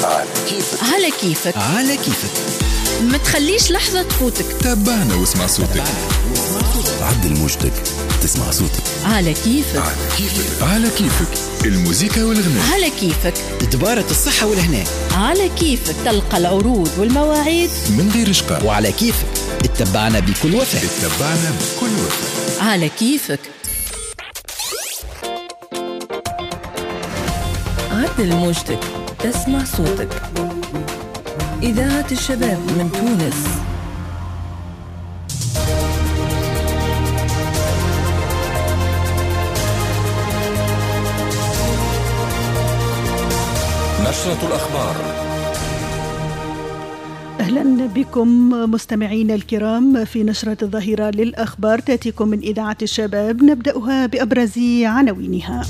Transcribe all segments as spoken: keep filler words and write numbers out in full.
على كيفك على كيفك على كيفك، ما تخليش لحظة تفوتك. تابعنا واسمع صوتك، عدل موجتك تسمع صوتك. على كيفك على كيفك على كيفك، الموسيقى والغناء على كيفك، دبارة الصحة والهناء على كيفك، تلقى العروض والمواعيد من غير شقاء. وعلى كيفك اتبعنا بكل وفاء، اتبعنا بكل وفاء على كيفك. عدل موجتك تسمع صوتك. إذاعة الشباب من تونس. نشرة الأخبار. أهلا بكم مستمعينا الكرام في نشرة الظهيرة للأخبار، تأتيكم من إذاعة الشباب، نبدأها بأبرز عناوينها.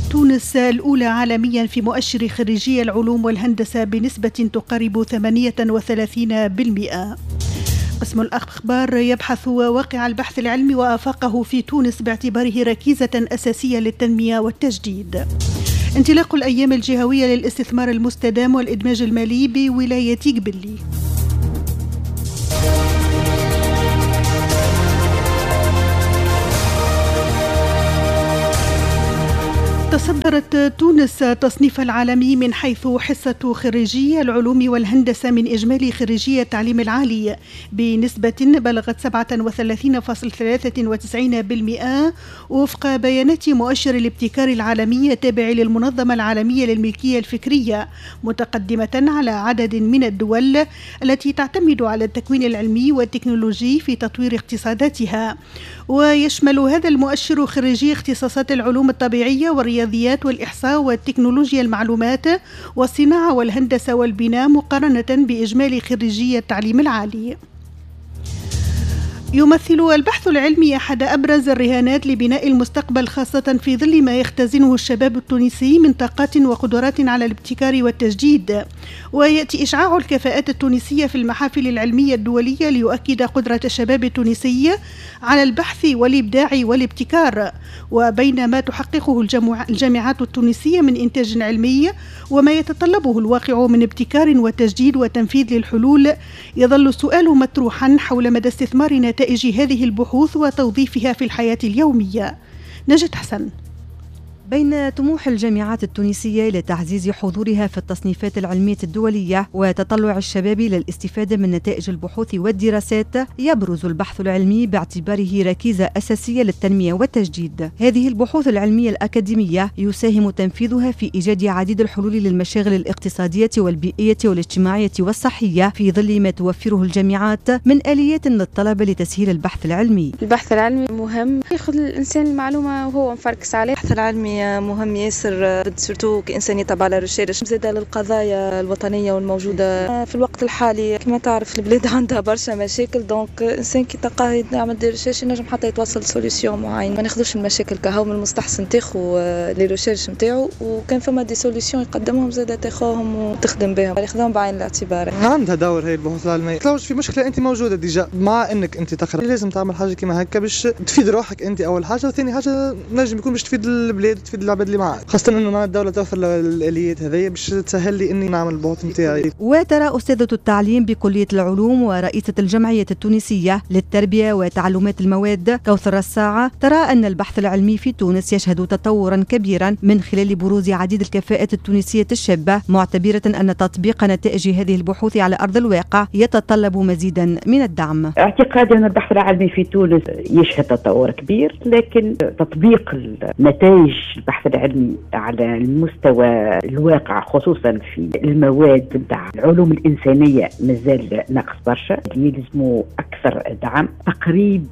تونس الأولى عالميا في مؤشر خريجي العلوم والهندسة بنسبة تقارب ثمانية وثلاثين بالمئة. قسم الأخبار يبحث واقع البحث العلمي وآفاقه في تونس باعتباره ركيزة أساسية للتنمية والتجديد. انطلاق الأيام الجهوية للاستثمار المستدام والإدماج المالي بولاية قبلي. تصدرت تونس تصنيف العالمي من حيث حصة خريجي العلوم والهندسة من إجمالي خريجي التعليم العالي بنسبة بلغت سبعة وثلاثين فاصلة ثلاثة وتسعين بالمئة وفق بيانات مؤشر الابتكار العالمي التابع للمنظمة العالمية للملكية الفكرية، متقدمة على عدد من الدول التي تعتمد على التكوين العلمي والتكنولوجي في تطوير اقتصاداتها. ويشمل هذا المؤشر خريجي اختصاصات العلوم الطبيعية والرياضيات والإحصاء والتكنولوجيا المعلومات والصناعة والهندسة والبناء، مقارنة بإجمالي خريجي التعليم العالي. يمثل البحث العلمي أحد أبرز الرهانات لبناء المستقبل، خاصة في ظل ما يختزنه الشباب التونسي من طاقات وقدرات على الابتكار والتجديد. ويأتي إشعاع الكفاءات التونسية في المحافل العلمية الدولية ليؤكد قدرة الشباب التونسي على البحث والإبداع والابتكار. وبين ما تحققه الجامعات التونسية من إنتاج علمي وما يتطلبه الواقع من ابتكار وتجديد وتنفيذ للحلول، يظل السؤال مطروحا حول مدى استثمار نتائج هذه البحوث وتوظيفها في الحياة اليومية. نجد حسن. بين طموح الجامعات التونسية لتعزيز حضورها في التصنيفات العلمية الدولية وتطلع الشباب للاستفادة من نتائج البحوث والدراسات، يبرز البحث العلمي باعتباره ركيزة أساسية للتنمية والتجديد. هذه البحوث العلمية الأكاديمية يساهم تنفيذها في إيجاد عديد الحلول للمشاغل الاقتصادية والبيئية والاجتماعية والصحية، في ظل ما توفره الجامعات من آليات للطلبة لتسهيل البحث العلمي. البحث العلمي مهم، ياخذ الإنسان المعلومة وهو مفركس عليه. البحث العلمي مهم ياسر، surtout كإنسان يتبع la recherche، زادة للقضايا الوطنية والموجودة في الوقت الحالي. كما تعرف البلاد عندها برشا مشاكل، donc إنسان كي تلقاه يعمل des recherches ينجم حتى يتوصل solution معين. ما ناخذوش المشاكل كهو، من المستحسن تاخو les recherches نتاعو، وكان فما des solutions يقدمهم زادة تاخوهم وتخدم بهم، ياخذوهم بعين الاعتبار. عندها دور هي البحوث العلمية، تلوج في مشكلة أنت موجودة déjà، مع أنك أنت تقرا لازم تعمل حاجة كيما هكا باش تفيد روحك أنت أول حاجة، وثاني حاجة نجم يكون باش تفيد البلاد، تفيد العباد اللي معاك، خاصة انه مع الدولة توفر الآليات هذيا باش تسهل لي اني نعمل البحوث نتاعي. وترى أستاذة التعليم بكلية العلوم ورئيسة الجمعية التونسية للتربية وتعلمات المواد كوثر الساعة، ترى أن البحث العلمي في تونس يشهد تطورا كبيرا من خلال بروز عديد الكفاءات التونسية الشابة، معتبرة أن تطبيق نتائج هذه البحوث على أرض الواقع يتطلب مزيدا من الدعم. اعتقادي أن البحث العلمي في تونس يشهد تطور كبير، لكن تطبيق النتائج البحث العلمي على المستوى الواقع خصوصا في المواد نتاع العلوم الإنسانية مازال ناقص برشا، يلزموا أكثر دعم. تقريب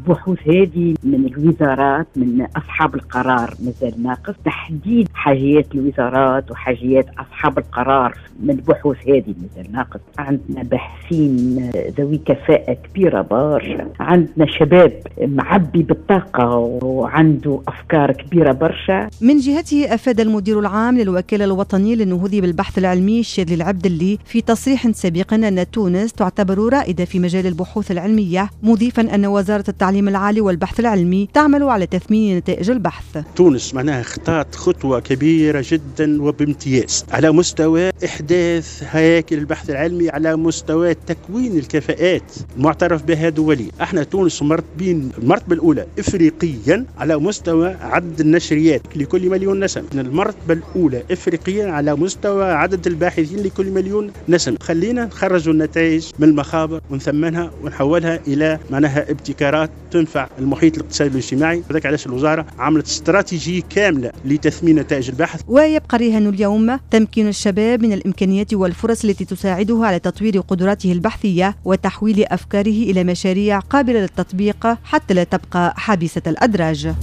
بحوث هذه من الوزارات من أصحاب القرار مازال ناقص، تحديد حاجيات الوزارات وحاجيات أصحاب القرار من البحوث هذه مازال ناقص. عندنا باحثين ذوي كفاءة كبيرة برشا، عندنا شباب معبي بالطاقة وعنده أفكار كبيرة برشا، برشا. من جهته أفاد المدير العام للوكالة الوطنية للنهوض بالبحث العلمي الشاذلي العبدلي في تصريح سابق أن تونس تعتبر رائدة في مجال البحوث العلمية، مضيفا أن وزارة التعليم العالي والبحث العلمي تعمل على تثمين نتائج البحث. تونس معناها خطات خطوة كبيرة جدا وبامتياز على مستوى إحداث هياكل البحث العلمي، على مستوى تكوين الكفاءات المعترف بها دوليا. احنا تونس مرتبين المرتبة الأولى إفريقيا على مستوى عدد النشريات لكل مليون نسمة، المرتبة الأولى إفريقيا على مستوى عدد الباحثين لكل مليون نسمة. خلينا نخرجوا النتائج من المخابر ونثمنها ونحولها إلى معناها ابتكارات تنفع المحيط الاقتصادي والاجتماعي. هذاك علاش الوزارة عملت استراتيجية كاملة لتثمين نتائج البحث. ويبقى رهان اليوم تمكين الشباب من الإمكانيات والفرص التي تساعده على تطوير قدراته البحثية وتحويل أفكاره إلى مشاريع قابلة للتطبيق حتى لا تبقى حبيسة الأدراج.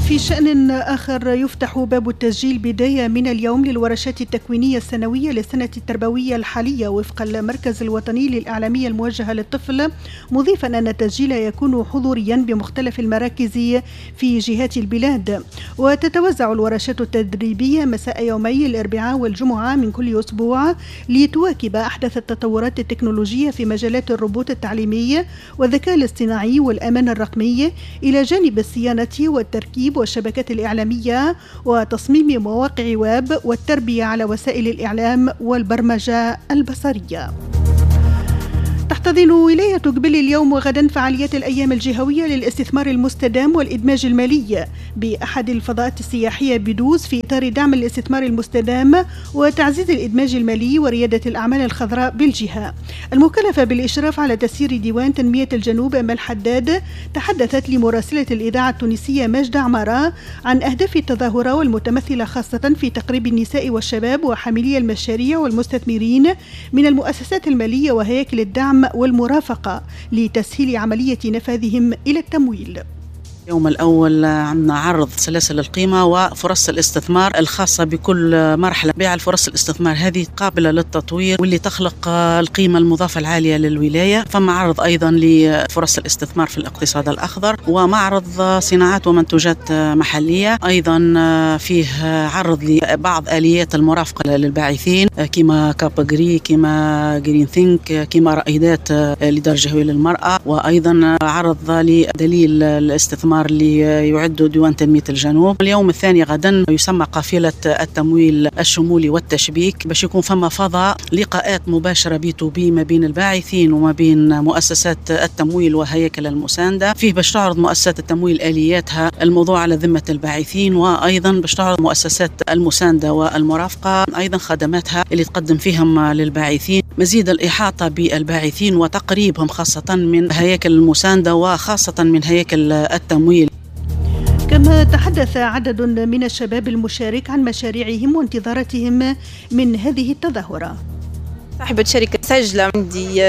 في شأن آخر، يفتح باب التسجيل بداية من اليوم للورشات التكوينية السنوية للسنة التربوية الحالية وفق المركز الوطني للإعلامية الموجهة للطفل، مضيفا أن التسجيل يكون حضوريا بمختلف المراكز في جهات البلاد. وتتوزع الورشات التدريبية مساء يومي الأربعاء والجمعة من كل أسبوع لتواكب أحدث التطورات التكنولوجية في مجالات الروبوت التعليمي والذكاء الاصطناعي والأمان الرقمي، إلى جانب الصيانة والتركيب والشبكات الإعلامية وتصميم مواقع ويب والتربية على وسائل الإعلام والبرمجة البصرية. تحتضن ولاية قبل اليوم وغدا فعاليات الأيام الجهوية للاستثمار المستدام والإدماج المالي بأحد الفضاءات السياحية بدوز في إطار دعم الاستثمار المستدام وتعزيز الإدماج المالي وريادة الأعمال الخضراء بالجهة. المكلفة بالإشراف على تسيير ديوان تنمية الجنوب أمل حداد تحدثت لمراسلة الإذاعة التونسية ماجدة عمارة عن أهداف التظاهرة والمتمثلة خاصة في تقريب النساء والشباب وحاملي المشاريع والمستثمرين من المؤسسات المالية وهياكل الدعم والمرافقة لتسهيل عملية نفاذهم إلى التمويل. اليوم الأول عندنا عرض سلاسل القيمة وفرص الاستثمار الخاصة بكل مرحلة. بيع الفرص الاستثمار هذه قابلة للتطوير واللي تخلق القيمة المضافة العالية للولاية. فما عرض أيضا لفرص الاستثمار في الاقتصاد الأخضر ومعرض صناعات ومنتوجات محلية. أيضا فيه عرض لبعض آليات المرافقة للباعثين كما كابغري، كما Green Think، كما رائدات لدار جهوية للمرأة، وأيضا عرض لدليل الاستثمار اللي يعد ديوان تنمية الجنوب. اليوم الثاني غدا يسمى قافلة التمويل الشمولي والتشبيك باش يكون فما فضاء لقاءات مباشرة B to B ما بين الباعثين وما بين مؤسسات التمويل وهياكل المساندة. فيه باش تعرض مؤسسات التمويل آلياتها الموضوع على ذمة الباعثين، وأيضا باش تعرض مؤسسات المساندة والمرافقة أيضا خدماتها اللي تقدم فيهم للباعثين. مزيد الإحاطة بالباعثين وتقريبهم خاصة من هياكل المساندة وخاصة من هياكل التمويل. كما تحدث عدد من الشباب المشارك عن مشاريعهم وانتظاراتهم من هذه التظاهرة. صاحبة شركة سجلة عندي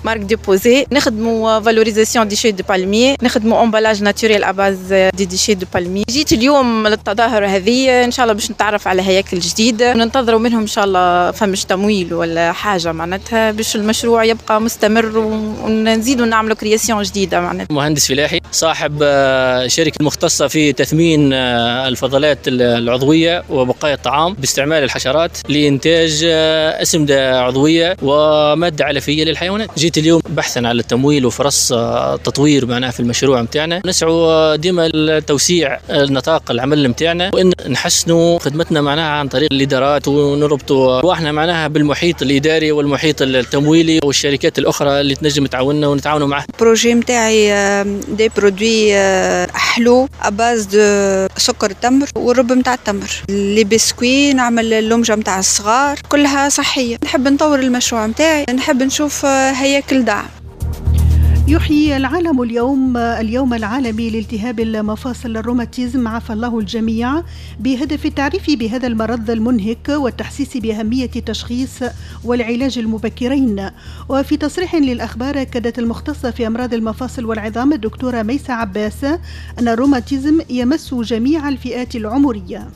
marque déposée، نخدموا valorisation déchets de palmier، نخدموا emballage naturel à base des déchets de palmier. جيت اليوم للتظاهرة هذه ان شاء الله باش نتعرف على هياكل جديدة وننتظروا منهم ان شاء الله فمش تمويل ولا حاجة معناتها باش المشروع يبقى مستمر ونزيدوا نعملوا création جديدة معناتها. مهندس فلاحي صاحب شركة مختصة في تثمين الفضلات العضوية وبقايا الطعام باستعمال الحشرات لإنتاج أسمدة عضوية ومادة علفية للحيوانات. جيت اليوم بحثا على التمويل وفرص تطوير معناها في المشروع متاعنا. نسعوا ديما لتوسيع النطاق العمل متاعنا وإن نحسنوا خدمتنا معناها عن طريق الإدارات ونربطوا رواحنا معناها بالمحيط الإداري والمحيط التمويلي والشركات الأخرى اللي تنجم تعاوننا ونتعاونوا معها. ال projet متاعي des produits حلو à base de سكر التمر والرب متاع التمر، les biscuits، نعمل اللمجة متاع الصغار، كلها صحية. نحب نطور المشروع متاعي، نحب نشوف هياكل دعم. يحيي العالم اليوم اليوم العالمي لالتهاب المفاصل الروماتيزم، عافى الله الجميع، بهدف التعريف بهذا المرض المنهك والتحسيس بأهمية التشخيص والعلاج المبكرين. وفي تصريح للأخبار أكدت المختصة في أمراض المفاصل والعظام الدكتورة ميسة عباس أن الروماتيزم يمس جميع الفئات العمرية.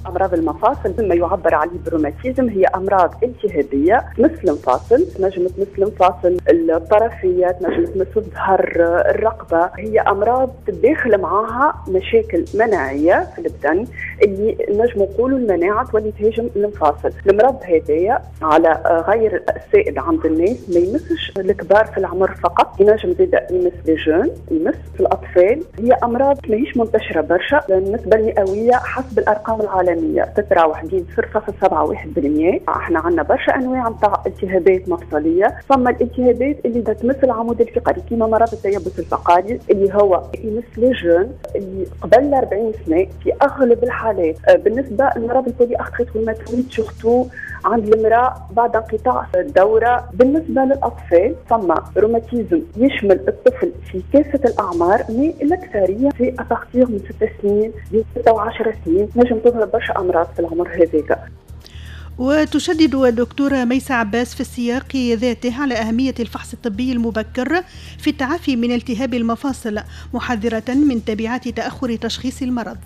أمراض المفاصل ما يعبر عليه بالروماتيزم هي أمراض التهابية تمس المفاصل، تنجم تمس المفاصل الطرفية، تنجم تمس الظهر، الرقبة. هي أمراض تداخل معاها مشاكل مناعية في البدن اللي نجم نقولوا المناعة تولي تهاجم المفاصل. المرض هذايا على غير السائد عند الناس ما يمسش الكبار في العمر فقط، ينجم زيد يمس les jeunes، يمس في الأطفال. هي أمراض ماهيش منتشرة برشا، النسبة المئوية حسب الأرقام العالمية تتراوح بين صفر فاصل سبعة واحد بالمئة. احنا عندنا برشا انواع نتاع التهابات مفصلية، فما الالتهابات اللي تمس العمود الفقري كيما مرض التيبس الفقري اللي هو يمس les jeunes اللي قبل أربعين سنة في اغلب الحالات. بالنسبة لمرض ال polyarthrite rhumatoïde surtout عند المراة بعد انقطاع الدورة. بالنسبة للاطفال فما روماتيزم يشمل الطفل في كافة الاعمار، mais الاكثرية في à partir من ست سنين ل ستة وعشر سنين نجم تظهر برشا أمراض في العمر هذاك. وتشدد الدكتورة ميسة عباس في السياق ذاته على أهمية الفحص الطبي المبكر في التعافي من التهاب المفاصل، محذرة من تبعات تأخر تشخيص المرض.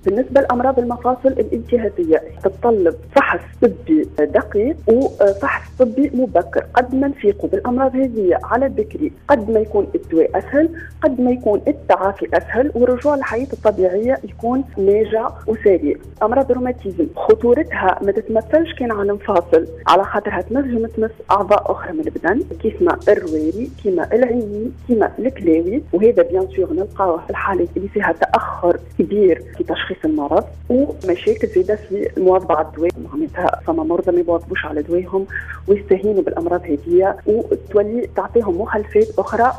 بالنسبة لأمراض المفاصل الالتهابية تتطلب فحص طبي دقيق وفحص طبي مبكر. قد ما نفيقوا بالأمراض هذه على بكري قد ما يكون الدواء أسهل، قد ما يكون التعافي أسهل، والرجوع للحياة الطبيعية يكون ناجع وسريع. أمراض الروماتيزم خطورتها ما تتمثلش كان على المفاصل، على خاطرها تنجم تمس أعضاء أخرى من البدن كيف الرواري، كيما العيني، كيما الكلاوي، وهذا bien sûr نلقاوه في الحالات اللي فيها تأخر كبير في تشخيص المرض ومشاكل زاده في المواظبة على الدواء. معناتها فما مرضى ما يواظبوش على دواهم ويستهينوا بالامراض هذه وتولي تعطيهم مخالفات اخرى.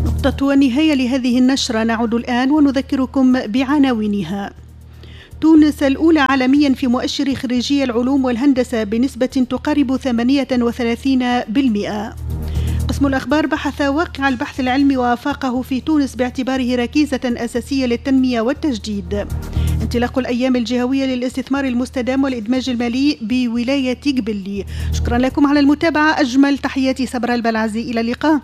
نقطة النهاية لهذه النشرة، نعود الآن ونذكركم بعناوينها. تونس الأولى عالميا في مؤشر خريجي العلوم والهندسة بنسبة تقارب ثمانية وثلاثين بالمئة. قسم الأخبار بحث واقع البحث العلمي وآفاقه في تونس باعتباره ركيزة أساسية للتنمية والتجديد. انطلاق الأيام الجهوية للاستثمار المستدام والإدماج المالي بولاية قبلي. شكرا لكم على المتابعة، أجمل تحياتي صبرا البلعزي، إلى اللقاء.